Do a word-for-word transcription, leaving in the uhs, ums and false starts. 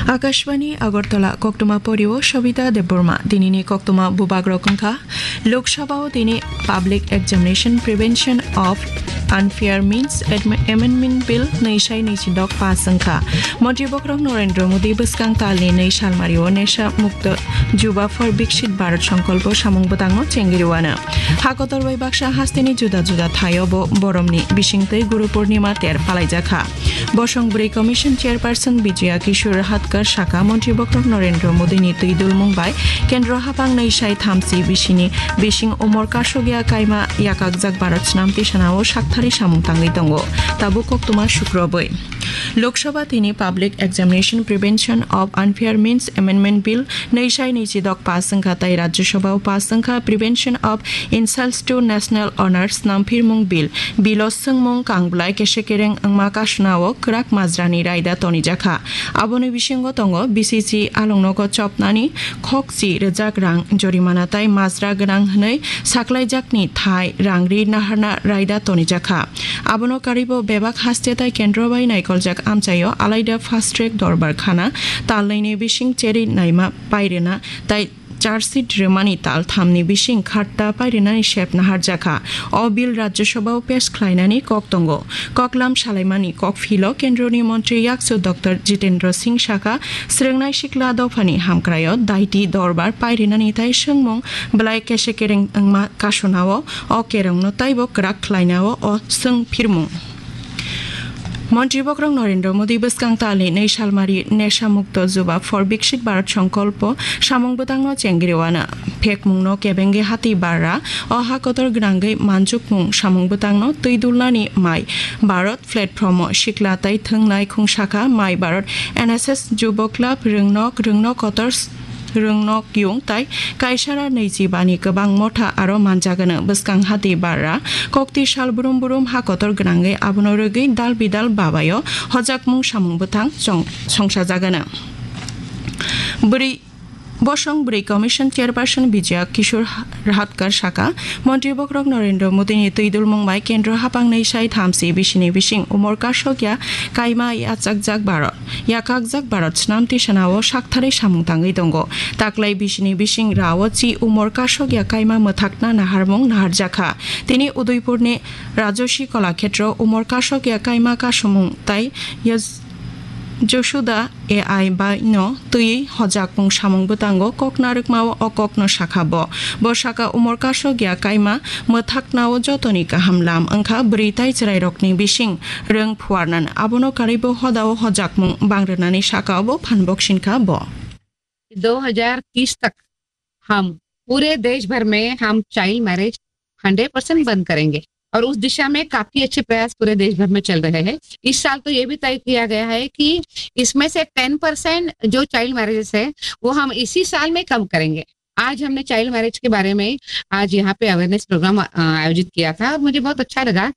Akashbani Agartala, koktwma porio Sobita Debbarma. Dinini koktwma bubagrok wngkha: Lok Sabha o tini Public Examination Prevention of Unfair Means Admi-, Amendment Bill nwi sai nwi chidok pass wngkha. Montri bokhorok Narendra Modi bwskang talni nwi salmario Nesha Mukto Juba for Viksit Bharat Sankalpo samung bwtangno chengriwano. Hakotor bai baksa hasteni juda juda thaio bo boromni bisingtwi Guru Purnima ter palaijakha. Bosong bwrwi Commission Chairperson Bijoya Kishore Hatkar saka, Montri bokhorok Narendra Modini twi dulmung bai Kendro hapang nwi sai thamchi bisini bising umor kasokya kaima yakakjak Bharat snam tisanao sakthari samung tangwi tongo. Tabuk koktwma sukrobwi. Lok Sabha tini Public Examination Prevention of Unfair Means Amendment Bill nwi sai nwi chidok pass wngkha tai Rajya Sabha o pass wngkha Prevention of Insults to National Honor snamphirmung Bill. Bilo swngmung kangblai kesekereng wngma kasuna o kwrak majrani raida tonijakha. Aboni bisingo tongo B C C alongnogo chopnani khokchi rwjak rang jorimana tai majra gwnang hwnwi saklaijakni thai rangri naharna raida tonijakha. Abono karwibo bebak haste tai kendro bai naikoljak amchaio alaida fast track dorbar khana talnwini bising cheri naima pairwna tai charge sheet rwmani tal thamni bising khatta pairwnani sep naharjakha. O bill Rajya Sabha o pesh khlainani kok tongo. Koklam salaimani kok philo Kendroni Montri Yaksu Doctor Jitendra Singh saka, swrwngnai sikla dophani hamkraio daiti dorbar pairwnani tai swngmung belai kesekereng wngma kasunao o kerongno taibo kwrak khlainao o swng phirmung. Montri bokhorok Narendra Modi bwskang talni nwi salmari Nesha Mukto Juba for Viksit Bharat Sankalpo samung bwtangno chengriwano. Phekmungno kebengwi hati barra o ha kotor gwnangwi manjukmung samung bwtangno twi dulnani My Bharat platform o sikla tai thwngnai khung sakha My Bharat N S S Juba Club Rwngnok, Rwngnok Kotor Rwngnok yung tai kaisara nwichi bani kwbang motha aro manjagano. Bwskang hati barra kokti sal brum brum ha kotor gwnangwi abono rwgwi dal bidal babayo hojakmung samung bwthang chong-, songsajagano. Bwrwi, bosong bwrwi Commission Chairperson Bijoya Kishore Hatkar saka, Montri bokhorok Narendra Modini twi dulmung bai Kendro hapang nwi sai thamchi bisini bising umor kasokya kaima yachakjak Bharat. Yakakjak Bharat snam tisanao sakthari samung tangwi tongo. Taklai bisini bising rao chi umor kasokya kaima mwthakna naharmung naharjakha. Tini Udaipurni Rajoshi Kolakhetro umor kasokya kaima kasumung tai yaj-, Josuda A I bai no twi hojakmung samung bwtango kok narwkmao o kokno sakha bo. Bo saka umor kasokya kaima mwthaknao jotoni kaham lam wngkha bwrwi tai chwrairokni bising rwng phuarnan. Abono karwibo hodao hojakmung bangrwnani sakao bo phan boksinkha bo. दो हज़ार तीस तक हम पूरे देश भर में हम चाइल्ड मैरिज हंड्रेड परसेंट बंद करेंगे और उस दिशा में काफी अच्छे प्रयास पूरे देश भर में चल रहे हैं। इस साल तो ये भी तय किया गया है कि इसमें से टेन परसेंट जो चाइल्ड मैरिजेस है, वो हम इसी साल में कम करेंगे। आज हमने चाइल्ड मैरिज के बारे में आज यहाँ पे अवेयरनेस प्रोग्राम, अ, आयोजित किया था और मुझे बहुत अच्छा लगा।